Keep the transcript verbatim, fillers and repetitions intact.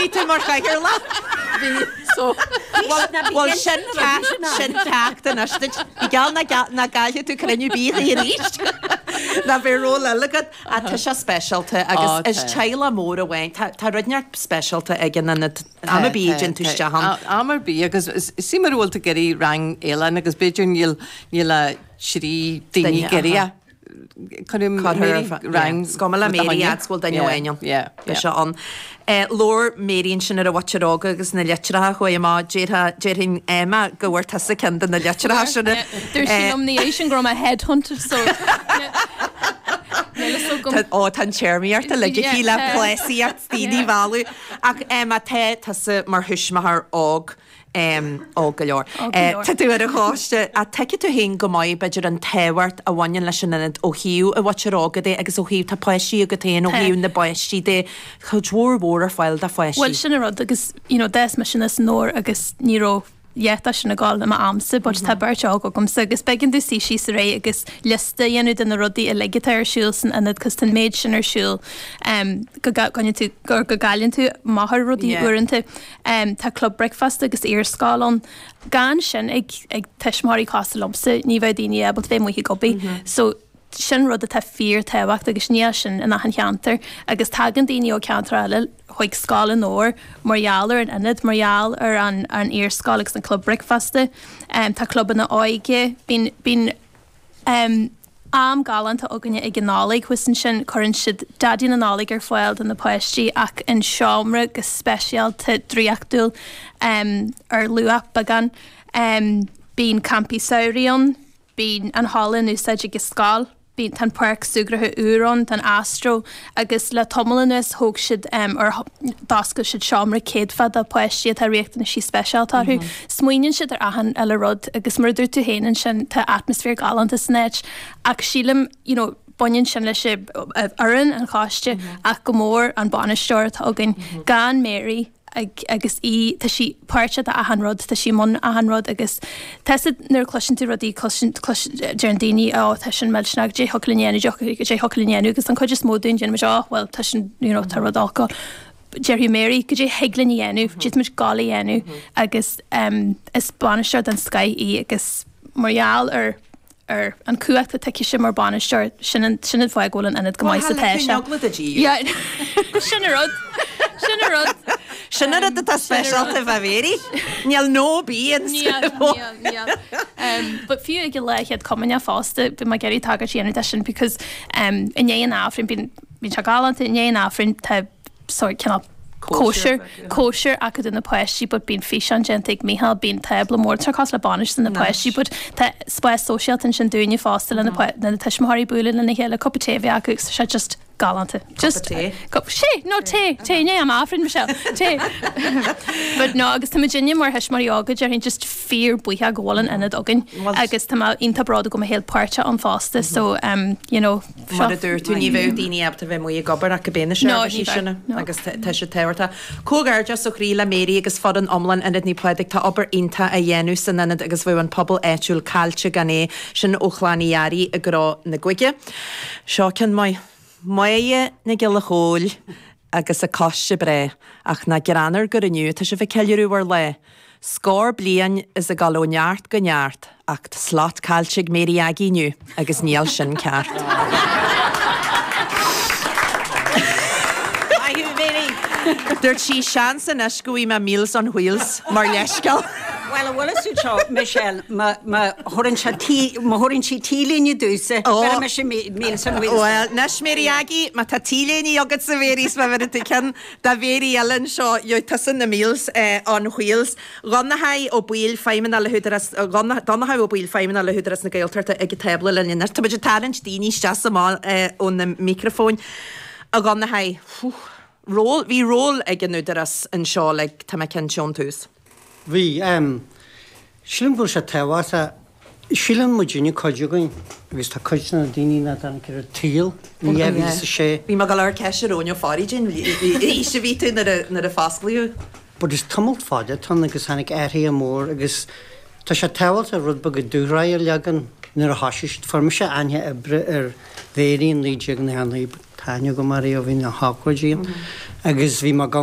Bhí tú mar chathaoirleach? Bhí, so. Bhuel sin sin ceacht anois duit. Bí geall nach gcaillfidh tú cruinniú bídh arís. Ná beidh ról eile agat. Ach tá sé speisialta agus is teaghlach mór amháin. Tá rud inteacht speisialta ag an ionad am ar bith a dtéann tú isteach ann. Am ar bith agus see mar a bhfuil tú ag iarraidh rang ealaíne agus b'fhéidir níl níl a trí daoine ag iarraidh Cuirim Mary rang. Is cuma le Mary fhad 's go bhfuil duine amháin ann. Beidh sé ann. Labhair Mary ansin ar an mhuintir óga agus na litreacha a chuaigh amach. Déarfá, déarfainn Emma go bhfuair tusa ceann de na litreacha sin. Dúirt sí liom ina dhiaidh sin go raibh mé headhunted so níl fhios agam. Ó tá an téarmaíocht uilig aici le pléasaíocht daoine a mhealladh. Ach Emma tá tusa mar thuismitheoir óg. Óg go leor. Tá tú ar an choiste. Ach tuigeann tú féin go maith, b'fhéidir, an tábhacht a bhaineann leis an ionad ó thaobh an mhuintir óga de agus ó thaobh, tá páistí agat féin, ó thaobh na bpáistí de, cuid mhór mhór ar fáil do pháistí. Bhuel, sin an rud agus, you know, d'fhás mise aníos i nDobhar agus ní raibh a dhath de sin ag gabháil i m'amsa but tá beirt óg agamsa agus b'éigean domh suí síos aréir agus liosta a dhéanamh de na rudaí uilig atá ar siúl san ionad cos tá an méid sin ar siúl go gcoinníonn tú, go gcailleann tú amach ar rudaí uaireanta. Tá club bricfeasta agus iarscoil ann. Gan sin ag ag tuismitheoirí cosúil liomsa, ní bheadh daoine ábalta bheith amuigh ag obair. So sin rud atá fíor-tábhachtach agus níl sin in achan cheantar. Agus tagann daoine ó cheantar eile chuig scoil i nDobhar mar gheall ar an ionad, mar gheall ar an an iarscoil agus an club bricfeasta. Tá clubanna óige, bíonn bíonn Am galánta againne ag an Nollaig thuas ansin. Cuireann siad Daidí na Nollag ar fáil do na páistí ach in seomra go speisialta draíochtúil ar luach beagán. Bíonn campaí samhraidh ann, bíonn an halla in úsáid ag an scoil. Bíonn, tá an páirc súgartha úr ann, tá an astro agus le tamall anuas thóg siad or d'oscail siad seomra céadfa do pháistí atá riachtanaisí speisialta orthu. Smaoiníonn siad ar achan uile rud agus mar a dúirt tú féin ansin tá atmaisféar galánta san áit ach sílim you know baineann sin leis an fhoireann, an choiste ach go mór an bainisteoir atá againn. Gan Mary ag agus í tá sí páirteach d'achan rud, tá sí i mbun achan rud agus tá siad nuair a chloiseann tú rudaí cloiseann clois deireann daoine ó tá sin millteanach cad é thiocfadh linn a dhéanamh cad é thiocfadh linn a dhéanamh agus an chuid is mó dúinn déanann muid ó bhuel tá sin you know tá rud olc déarfaidh Mary cad é thig linn a dhéanamh, d'fhéadfaimis gabháil a dhéanamh agus is bainisteoir den scoith í agus mar gheall ar ar an cumhacht atá aici mar bainisteoir, sin an sin an fáth go bhfuil an ionad go maith is atá sé. Bhuel, tá Yeah, sin an rud, sin an rud. Sin an rud atá speisialta fá Mary. Níl no bí in Níl, níl, níl. But fiú ag an lá Chéad Chomaoineach fosta, bhí mé ag iarraidh tagairt a dhéanamh de sin because i ndiaidh an Aifrinn, bíonn bíonn sé galánta, i ndiaidh an Aifrinn tá sórt cineál cóisir, cóisir acu do na páistí but bíonn físeán déanta ag Mícheál, bíonn tábla mór, tá sé cosúil le bainis do na páistí but tá spás sóisialta ansin dúinne fosta le na na tuismitheoirí bualadh lena chéile, cupa tae a bheith acu agus tá sé just galánta. Just tae? Cup tae, no tae, tae, ní am Aifrinn Michelle, tae. But no agus tá muidinne mar thuismitheoirí óga déarfainn just fíor buíoch go bhfuil an ionad againn agus tá mé iontach bródúil go bhfuil mé féin páirteach ann fosta so um you know Mar a dúirt tú, ní bheadh daoine ábalta bheith amuigh ag obair ach go mbeadh na seirbhísí sin agus tá siad tábhachtach. Comhghairdeas ó chroí le Mary agus foireann iomlán Ionad Naomh Pádraig. Tá obair iontach á dhéanamh san ionad agus bheadh an pobal áitiúil caillte gan é. Sin ó Chlann Uí Fhearraigh i gCró na Gaige. Seo ceann maith. Máire Nic Giolla Chóill agus a coiste breá, ach nach greannmhar gur inniu atá sibh ag ceiliúradh bhur lá. Scór bliain is ag dul ó neart go neart ach tá slot caillte ag Mary Aggie inniu agus níl sin ceart. Maith thú, Mary! Dúirt sí, seans anois go bhfaighidh mé Meals on Wheels mar leithscéal. Bhuel, an bhfuil fhios agat seo, Michelle, má thabhrann sé tí, má thabhrann sí t-léine domhsa, bheir mise Meals on Wheels. Bhuel, anois Mary Aggie, má tá t-léine agatsa, Mary, is má bheireann tú ceann do Mhary eile anseo, gheobhaidh tusa na Meals on Wheels. Donnchadh Ó Baoill, Feidhmeannach le hÚdarás, Donnchadh Ó Baoill, Feidhmeannach le hÚdarás na Gaeltachta ag an tábla linn anois. Tá muid ag tarraingt daoine isteach is amach ó na micreafóin. A Dhonnchaidh, ról, bhí ról ag an Údarás anseo like, tá mé cinnte ón tús. Bhí. Sílim go bhfuil sé tábhachtach. Síleann muidinne, cuid againn, agus tá cuid de na daoine nach dtáinig ar an tsaol in dhá mhíle is a sé. Bhí mé ag dul a chur ceist ar Eoin Ó Fearraigh cén aois a bhí tú nuair a fosclaíodh. But is tamall fada atá ann agus tháinig athruithe mór agus tá sé tábhachtach rud beag dúshraith a leagan nuair a thosaigh siad. Fuair mise aithne oibre ar Mhéirí in naoi déag nócha a naoi, tá aithne agam uirthi ó bhí na hócáidí ann agus bhí mé ag